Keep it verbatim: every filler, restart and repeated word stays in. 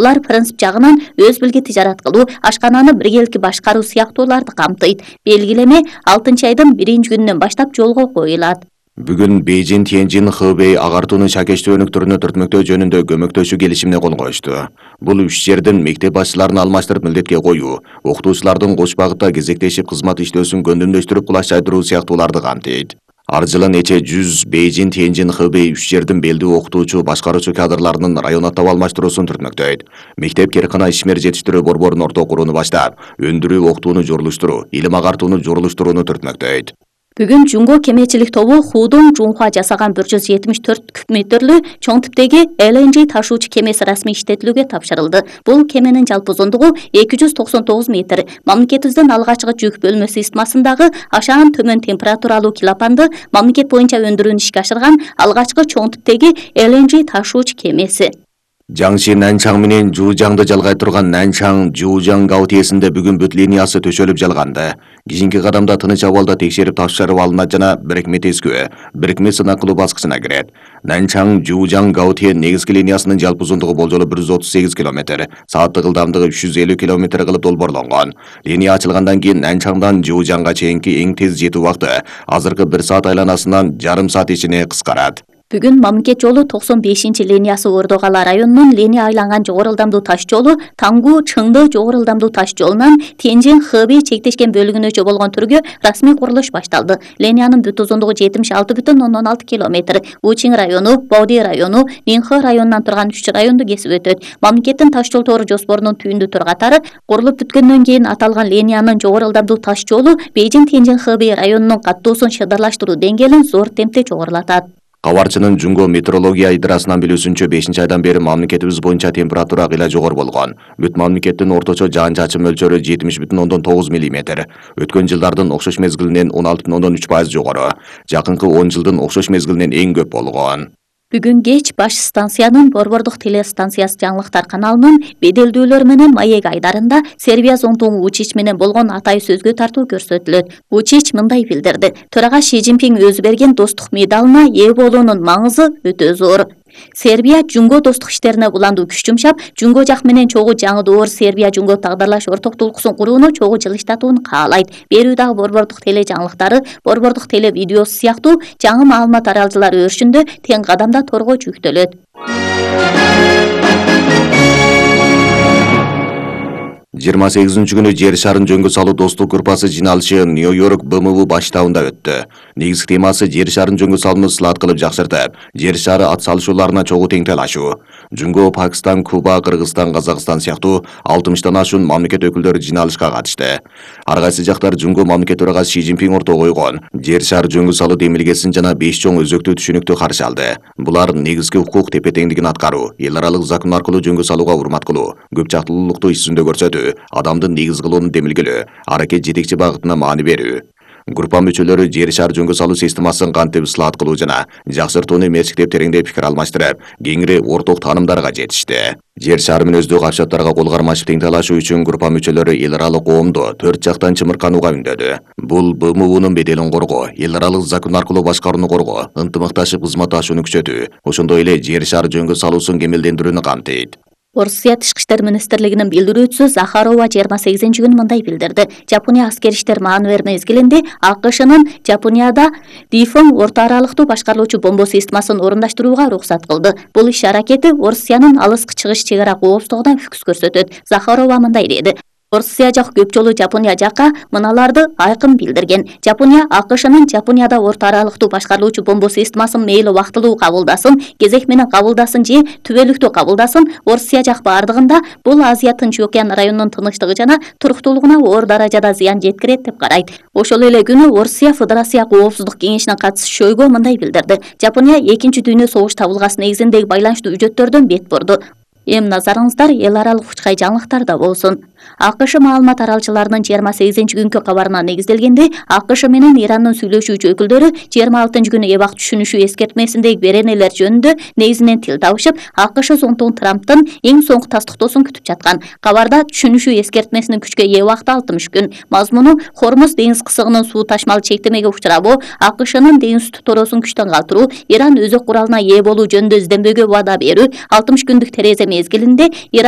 Булар принцип жагынан өз билги тижарат кылуу, ашкананы биргеликти башкаруу сыяктууларды камтыйт. Белгилеме алтынчы айдын биринчи күнүнөн баштап жолго коюлат. Бүгүн Бейжин Тяньжин Хэбэй агартуунун шакештүү өнүктөрүнө түртмөктөө жөнүндө көмөктөшүү келишимине кол коюшту. Бул үч жердин мектеп башчыларын алмаштырып милдетке коюу, окутуучулардын коч багытта кезектешип кызмат иштөөсүн көндүмдөштүрүп кулачтайдыруу сыяктууларды камтыйт. Ар жылы нече жүз Бейжин Тяньжин Хэбэй үч жердин белдүү окутуучу башкаруучу кадрларынын район аттап алмаштыруусун түртмөктөйт. Мектеп керкана ишмер жетиштирүү борборунун орто курууну баштап, өндүрүү окутууну журулуштуруу, илим агартууну журулуштурууну түртмөктөйт. Бүгүн Жунго кемечилик тобу Худун Жунхуа жасаган бир жүз жетимиш төрт күп метрлүү чоң типтеги Эл Эн Жи ташуучу кемеси расмий иштетилүүгө тапшырылды. Бул кеменин жалпы узундугу эки жүз токсон тогуз метр. Мамлекетибиздин алгачкы жүк бөлмөсү истмасындагы ашаан төмөн температуралуу килапанды мамлекет боюнча өндүрүүнү ишке ашырган алгачкы чоң типтеги Эл Эн Жи ташуучу кемеси. Жаңши Нанчаң менен Жужаңды жалгай турган Нанчаң Жужаң гаутиесинде бүгүн бүт линиясы төшөлүп жалганды. Кийинки кадамда тыныч абалда текшерип тапшырып алынат жана бирикме тескөө, бирикме сынак кылуу баскычына кирет. Нанчаң Жужаң гаутие негизги линиясынын жалпы узундугу болжолу бир жүз отуз сегиз километр, сааттык ылдамдыгы үч жүз элүү километр кылып долбоорлонгон. Линия ачылгандан кийин Нанчаңдан Жужаңга чейинки эң тез жетүү убакыты азыркы бир саат айланасынан жарым саат ичине кыскарат. Бүгүн мамлекет жолу токсон бешинчи линиясы Ордогала районунун линия айланган жогору ылдамдуу таш жолу Таңгу Чыңды жогору ылдамдуу таш жолунан Тяньжин Хэбэй чектешкен бөлүгүнөчө болгон түргө расмий курулуш башталды. Линиянын бүт узундугу жетимиш алты бүтүн ондон алты километр. Учиң району, Боди району, Нинхэ районунан турган үч районду кесип өтөт. Мамлекеттин таш жол тору жоспорунун түйүндү тур катары курулуп бүткөндөн кийин аталган линиянын жогору ылдамдуу таш жолу Бейжин Тяньжин Хэбэй районунун каттуусун шыдарлаштыруу деңгээлин зор темпте жогорулатат. Кабарчынын Жунго метеорология идрасынан билүүсүнчө бешинчи айдан бери мамлекетибиз боюнча температура кыйла жогору болгон. Бүт мамлекеттин орточо жаан-чачын мөлчөрү жетимиш бүтүн ондон тогуз миллиметр. Өткөн жылдардын окшош мезгилинен он алты бүтүн ондон үч пайыз жогору. Жакынкы он жылдын окшош мезгилинен эң көп болгон. Бүгүн кеч баш станциянын Борбордук телестанциясы жаңылыктар каналынын беделдүүлөр менен маек айдарында Сербия зонтугу Вучич менен болгон атайы сөзгө тартуу көрсөтүлөт. Вучич мындай билдирди: Төрага Ши Цзиньпин өзү берген достук медалына ээ болуунун маңызы өтө зор. Сербия Жунго достук иштерине уландуу күч жумшап, Жунго жак менен чогуу жаңы доор Сербия Жунго тагдырлаш ортоктулуксун курууну чогуу жылыштатууну каалайт. Берүү дагы Борбордук теле жаңылыктары, Борбордук теле видеосу сыяктуу жаңы маалымат аралжылары өрүшүндө тең кадамда торго жүктөлөт. жыйырма сегизинчи күнү жер шарын жөнгө салуу достук группасы жыйналышы Нью-Йорк Б М В баштабында өттү. Негизги темасы жер шарын жөнгө салууну сылат кылып жакшыртып, жер шары ат салышууларына чогуу тең талашуу. Жунго Пакистан, Куба, Кыргызстан, Казакстан сыяктуу алтымыштан ашуун мамлекет өкүлдөрү жыйналышка катышты. Ар кайсы жактар Жунго мамлекет төрагасы Ши Цзиньпин ортого койгон жер шары жөнгө салуу демилгесин жана беш чоң өзөктүү түшүнүктү каршы алды. Булар негизги укук тепе-теңдигин аткаруу, эл аралык закон аркылуу жөнгө салууга урмат кылуу, көп жактылуулукту иш жүзүндө көрсөтүү, адамдын негиз кылууну демилгелөө, аракет жетекчи багытына маани берүү. Группа мүчөлөрү жер шары жөнгө салуу системасын кантип ысылат кылуу жана жакшыртууну мерчиктеп тереңдеп пикир алмаштырып, кеңири орток таанымдарга жетишти. Жер шары менен өздүү капчаттарга кол кармашып тең талашуу үчүн группа мүчөлөрү эл аралык коомду төрт жактан чымырканууга үндөдү. Бул Б М Унун беделин коргоо, эл аралык закон аркылуу башкарууну коргоо, ынтымакташып кызматташууну күчөтүү, ошондой эле жер шары жөнгө салуусун кемелдендирүүнү камтыйт. Орусия Тышкы иштер министрлигинин билдирүүчүсү Захарова жыйырма сегизинчи күнү мындай билдирди: Жапония аскер иштер маанвер мезгилинде А К Шнын Жапонияда Дифон орто аралыктуу башкарылуучу бомба системасын орундаштырууга уруксат кылды. Бул иш аракети Орусиянын алыскы чыгыш чек ара коопсуздугуна үкүс көрсөтөт. Захарова мындай деди: Орусия жак көп жолу Жапония жакка мыналарды айкын билдирген. Жапония А К Шнын Жапонияда орто аралыктуу башкарылуучу бомба системасын мейли убактылуу кабылдасын, кезек менен кабылдасын же түбөлүктүү кабылдасын, Орусия жак бардыгында бул Азия Тынч океан районунун тынчтыгы жана туруктуулугуна оор даражада зыян жеткирет деп карайт. Ошол эле күнү Орусия Федерация коопсуздук кеңешине катышуучу өйгө мындай билдирди: Жапония экинчи дүйнө согуш табылгасы негизиндеги байланыштуу үжөттөрдөн бет бурду. Эми назарыңыздар эл аралык учкай жаңылыктарда болсун. А К Ш маалымат аралчыларынын жыйырма сегизинчи күнкү кабарына негизделгенде, А К Ш менен Ирандын сүйлөшүүчү өкүлдөрү жыйырма алтынчы күнү эбак түшүнүшүү эскертмесиндеги беренелер жөнүндө негизинен тил табышып, А К Ш зонтугу Трамптын эң соңку тастыктоосун күтүп жаткан. Кабарда түшүнүшүү эскертмесинин күчкө ээ убакыты алтымыш күн. Мазмуну Хормуз деңиз кысыгынын суу ташмал чектемеге учурабоо, А К Шнын деңиз төтөрөсүн күчтөн калтыруу, Иран өзөк куралына ээ болуу жөнүндө изденбөөгө убада берүү, алтымыш күндүк терезе мезгилинде